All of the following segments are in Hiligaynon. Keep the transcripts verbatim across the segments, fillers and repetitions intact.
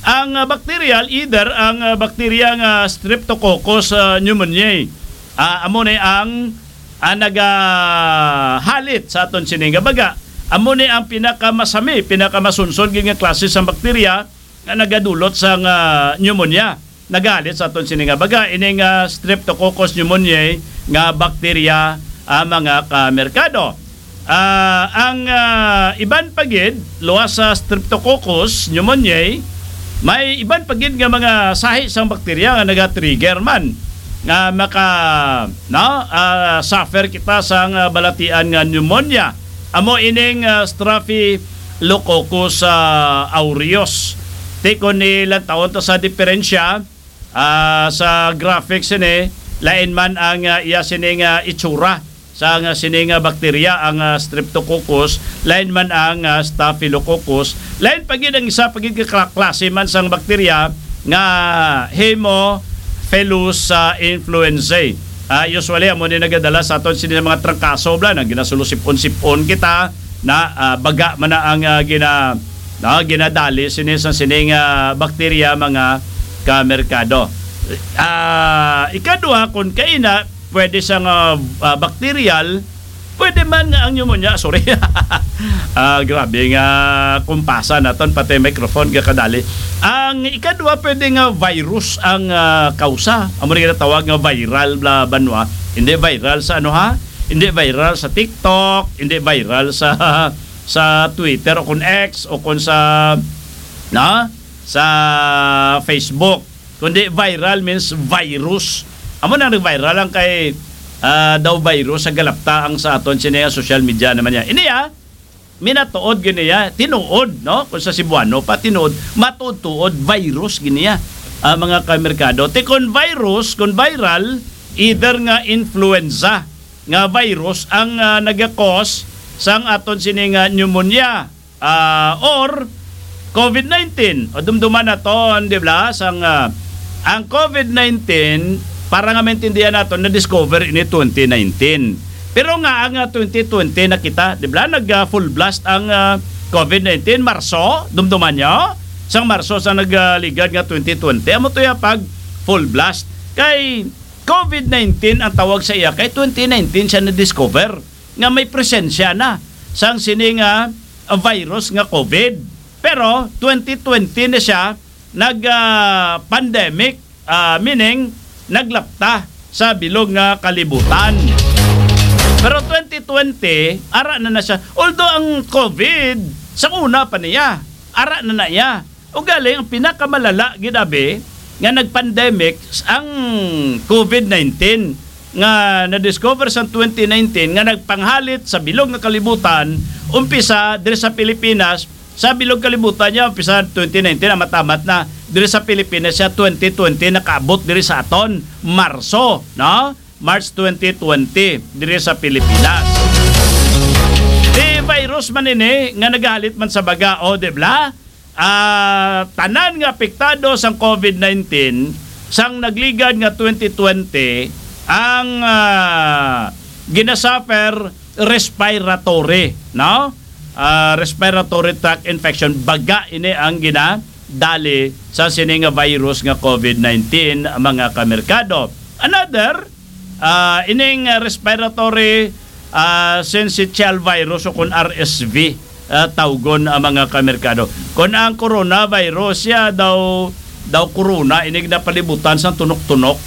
Ang, ah, bacterial, either ang, ah, bakterya nga Streptococcus, ah, pneumoniae, ah, amo ni ang, ah, nagahalit sa aton sini nga baga. Amo ni ang pinakamasami, pinakamasunson gid nga klase sang bakterya nga nagadulot sang, ah, pneumonia. Nagahalit sa aton sini nga baga, ining, ah, Streptococcus pneumoniae nga bakterya, ah, mga kamerkado. Ah, ang, ah, iban pa gid, luwas sa Streptococcus pneumoniae, may iban pa gid nga mga sahi sang bakterya nga naga-trigger man nga maka, no, ah, suffer kita sang, ah, balatian nga pneumonia. Amo ining, ah, Staphylococcus, ah, aureus. Ti kon ilantawon to sa diferensya, ah, sa graphics ini, lain man ang, ah, iya sini nga itsura sa nga sini nga bakterya, ang, ah, Streptococcus, lain man ang, ah, Staphylococcus, lain pa gid ang isa pa gid ka kla-, klase man sang bakterya nga Haemophilus, ah, influenzae. Ah, usually, amo ni nagadala sa aton sini nga mga trangkaso, bla, nga ginasulo sip-on-sip-on kita, na, ah, baga man na ang, ah, gina-, no, ginadali sini sa sining, ah, bakterya, mga kamerkado. Ah, ikaduha, kung kaina, pwede sang, ah, ah, bacterial, pwede man nga ang pneumonia, sorry. Ah, grabe nga kumpasa naton, pati microphone gakadali. Ang ikaduha, pwede nga virus ang, ah, kausa. Amo ni ginatawag nga viral, bla, banwa. Hindi viral sa ano, ha? Hindi viral sa TikTok, hindi viral sa, sa Twitter o kung X o kung sa, na, sa Facebook. Kundi viral means virus. Amo na nag-viral lang kay, ah, daw virus sa galapta ang sa aton sini nga social media naman niya. Ini, ah, minatuod gini, ah, tinuod, no? Kung sa Cebuano pa, tinuod, matuod-tuod, virus gini, ah, ah, mga kamerkado. Ti kon virus, kung viral, either nga influenza nga virus ang, ah, nagakos sang aton sini nga pneumonia, ah, or covid nineteen. O, dumduman naton, di ba? Sang, ah, ang covid nineteen, para nga maintindihan naton, na-discover ini twenty nineteen. Pero nga ang, ah, twenty twenty na kita, di ba? Nag, ah, full blast ang, ah, covid nineteen, Marso, dumduman nyo? Sang Marso sa nagligad nga twenty twenty, amo to ya pag full blast. Kay covid nineteen ang tawag sa iya, kay twenty nineteen siya na-discover nga may presensya na sang sini nga, ah, virus nga covid. Pero twenty twenty na siya nag, ah, pandemic, ah, meaning naglapta sa bilog nga kalibutan. Pero twenty twenty, ara na na siya. Although ang covid, sa una pa niya, ara na na iya. Ugaling, ang pinakamalala gid abi nga nag-pandemic ang covid nineteen nga na-discover sa twenty nineteen nga nagpanghalit sa bilog nga kalibutan, umpisa diri sa Pilipinas, sa bilog kalibutan niya, umpisa twenty nineteen, amat-amat na diri sa Pilipinas siya, twenty twenty, nakaabot diri sa aton, Marso, no? March twenty twenty, diri sa Pilipinas. Di virus man ini nga nagahalit man sa baga, o, di ba? Ah, tanan nga apektado sang covid nineteen, sang nagligad nga twenty twenty, ang, ah, ginasuffer respiratory, no? Ah, respiratory tract infection, baga ini ang ginadali sa sini nga virus nga covid nineteen, mga kamerkado. Another, ah, ining, ah, respiratory, ah, syncytial virus o kun R S V, ah, tawgon ang mga kamerkado. Kun ang coronavirus, siya daw, daw corona, inig napalibutan sang tunok-tunok.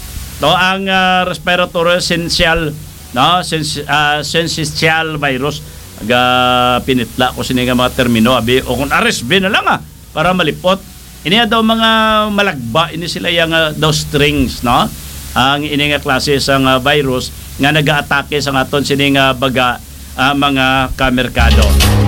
To ang, ah, respiratory syncytial, no? Syns-, ah, syncytial virus. Ga pinitla ko sini nga mga termino, abi, o kun R S V na lang, ah, para malipot. Ini daw mga malagba, ini sila yang, ah, daw strings, no? Ang ini nga klase sang, ah, virus nga nagaatake sa aton sini nga baga, ah, mga kamerkado.